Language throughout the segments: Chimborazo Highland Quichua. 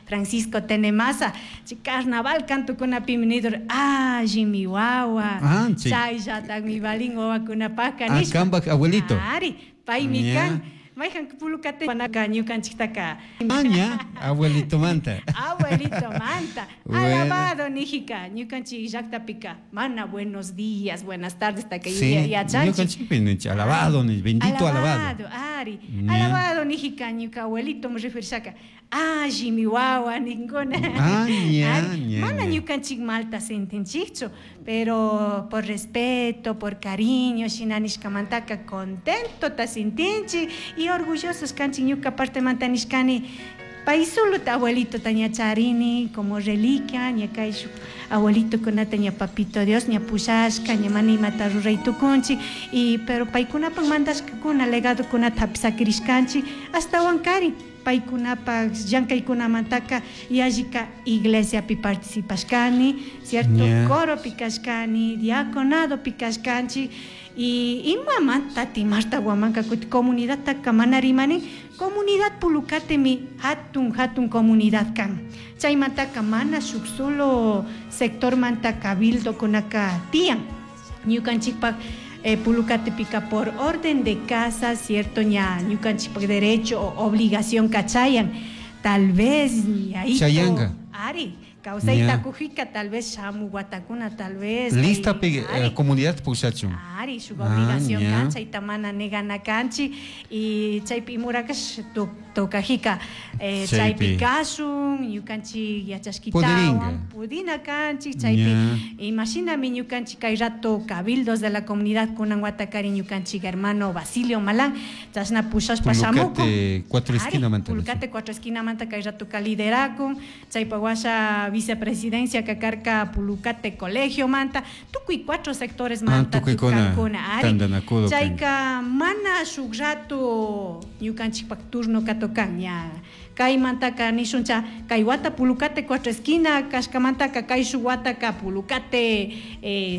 Francisco Tenemaza, chay carnaval kantukunapimi nidur allimi wawa, chayllatakmi valin wawakunapaka nishpa. Kanpak abuelito. Ari, paymi kan. Mayhan Pulukate ñukanchiktaka. Ña, abuelitomanta. Abuelitomanta. Alabado nijika, ñukanchik llaktapika mana buenos días, buenas tardes taka yachanchik. Ñukanchikpi ninchik alabado, bendito alabado. Alabado, ari. Alabado nijika, ñuka abuelito me referishaka. Allimi wawa ninkuna. Ah, ña, ña, Mana ña. ñukanchik malta sentinchikchu, pero por respeto, por cariño, shina nishkamantaka contento ta sintinchik y orgullosos kanchik ñuka partemanta nishkani. Pay solo ta abuelito ta ña charini como reliquia, ña kay shuk abuelito kunata ña papito Dios ña pushashka, ña mana imata ruray tukunchik, y pero paykunapak mandashkakuna legadokunata hapisakirishkanchik ashtawan kari paykunapak llankaykunamantaka yallika iglesiapi participashkani, cierto, coropi kashkani, diaconadopi kashkanchik, y imamanta Marta Huamanca kuti comunidadtaka mana rimani, comunidad Pulukatemi hatun hatun comunidad kan. Chaymantaka mana shuk solo sectormanta cabildokunaka tiyan. Ñukanchikpak Pulukatepika por orden de casa, cierto, ña ñukanchikpak derecho o obligación kachayan. Tal vez ahí Chayanga. Ari, kawsayta kujika, tal vez shamu watakuna, tal vez. Lista pe, comunidad pushachun. Ari, shuk obligación Ah, ña. kan, chayta mana negana kanchi, y chaypi imurakash tokajika, Chaypi. chaypi kashun, ñukanchik yachashkitawan, Pudiringa. pudina kanchik, chaypi imashinami ñukanchik kay rato cabildos de la comunidad kunan watakari ñukanchik hermano Basilio Malán, chashna pushashpa Pulukate shamukun. cuatro Ari, esquina manta, Pulukate cuatro esquina manta kay rato liderakun, chaypa washa vicepresidencia kakarka Pulukate colegio manta, tukuy cuatro sectores Ah, manta tukuykuna tukankuna, ari. tandanakudo kan. Chayka mana shuk rato ñukanchikpak turno katokan, ña kaymantaka nishuncha kay wata Pulukate cuatro esquina kashkamantaka kay shuk wataka Pulukate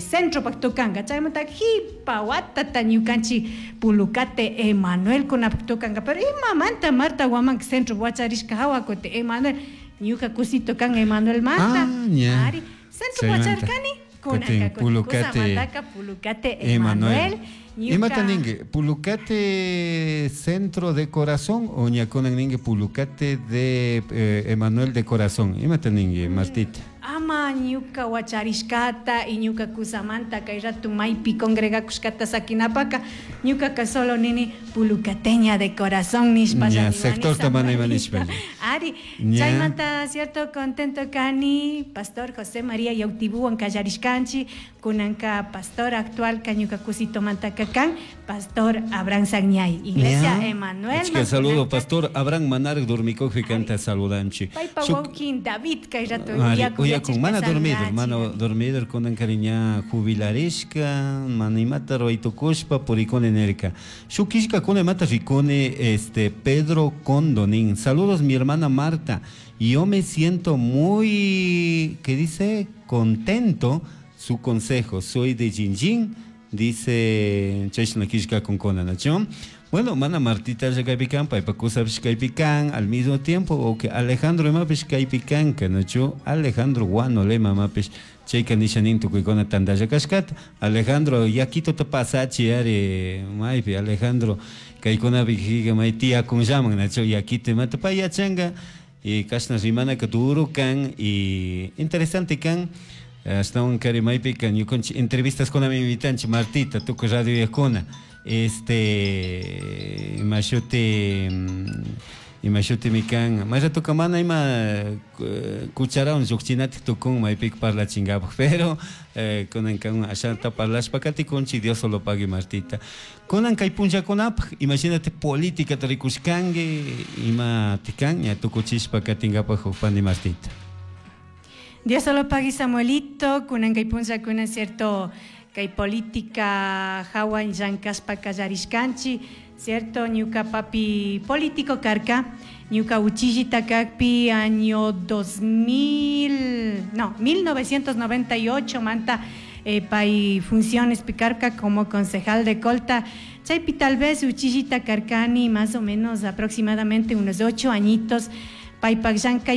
centro pak tukanka, chaymantaka jipa watata ñukanchik Pulukate Emanuel kunapak tukanka, pero imamanta Marta Huamanca centro wacharishka hawa kuti Emanuel ñuka kusito kan Emanuel manta. Ah, ña. Ari, centro Chaymanta. wacharkani, kunanka Kutin kuti Pulukate kusamantaka Pulukate Emanuel. Emanuel. Ñuka Imata ningue, Pulukate centro de corazón o ñakunan ningue Pulukate de Emanuel de corazón. Imata ningue, Martita. Ama ñuka wacharishkata y ñuka kusamanta kay rato maypi congregakushkata sakinapaka ñukaka solo nini pulucateña de corazón nishpa Ña, rimani sector tamana ima nishpa. Ari, Ña. chaymanta cierto contento kani pastor José María Yautibuwan kallarishkanchi kunanka pastor actual ka ñuka kusitomanta kan pastor Abraham Sagñay, Iglesia Ña. Emanuel Achka saludo Mantunanka. pastor Abraham Manarek dormikuqpi kanta saludanchi. Paypa Shuk wawkin David kay rato Ari, yaku uyakun, mana yachishka dormido, saludanchi. mana dormido, kunan kariña jubilarishka, mana imata ruwaytukushpa purikuni nirka. Shuk killkakuna imata rikuni, Pedro Condonín. Saludos mi hermana Marta. Yo me siento muy, ¿qué dice? Contento su consejo. Soy de Jinjin, dice chashna killka kunkuna, ¿no? Bueno, mana Martita ya kaypikan, paypa kusapish kaypikan, al mismo tiempo, o que Alejandro imapish kaypikan, que no chu, Alejandro Guano le mamapish, chayka nishanin tukuykuna tantalla kashkata. Alejandro, yakito te pasachi, ari, maypi, Alejandro, kaykunapi jiga, may tía kun llaman, ¿no chu? Yakito imata pay yachanga, y kashna rimanaka duro kan, y interesante kan. Ashtawan kari maypi kan ñukanchik entrevistas kuna mi invitanchik Martita, tukuy radio yakuna. Este, imashuti, imashuti mi kan, may rato ka mana ima cucharawan lluqchinatik tukun maypik parlachinkapak, pero kunan kan ashanta parlashpa katikunchik, Dios solo pague Martita. Kunan kay punllakunapaq, imagínate política rikushkanki, ima tikan, ña tukuchishpa katinkapak huk pani Martita. Dios solo pague Samuelito, kunan kay punllakuna cierto kay política hawan llankashpa kallarishkanchik, cierto ñuka papi político karka, ñuka uchillita kakpi año dos mil, no, mil novecientos noventa y ocho manta pay funciones picarca como concejal de Colta. Chaypi tal vez uchillita karkani más o menos aproximadamente unos 8 añitos. Paypak llankay.